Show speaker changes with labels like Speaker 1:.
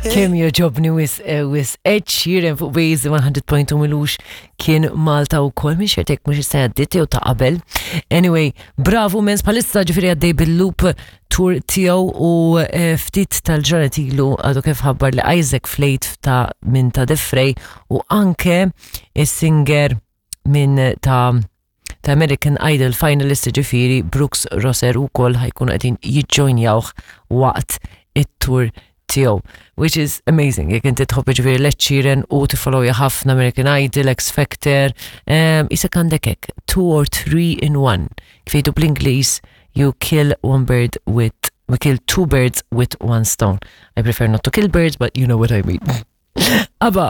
Speaker 1: Kemm joġobni wis eh, wis Ed Sheeran fuq Waze 100.2 milux kien Malta u kol minn xertek mux is-sena għaddiet jew ta' qabel. Anyway, bravo mens bħalissa ġifieri għaddej bil-loop tour tiegħu u eh, ftit tal-ġranet ilu għadu kif ħabbar li Isaac Flate ta' minn ta' Defrey u anke is-singer minn ta' ta' American Idol finalist ġifiri Brooks Rosser u kol ħajkunu qegħdin jiġġojnjawh waqt it-tour tiegħu, which is amazing. Jekk inti tħobb ġifieri Ed Sheeran u tiffollowja ħafna American Idol, X Factor, isek għandek hekk, two or three in one. Kif jgħidu bl-Ingliż, you kill one bird with we kill two birds with one stone. I prefer not to kill birds, but you know what I mean. Aba.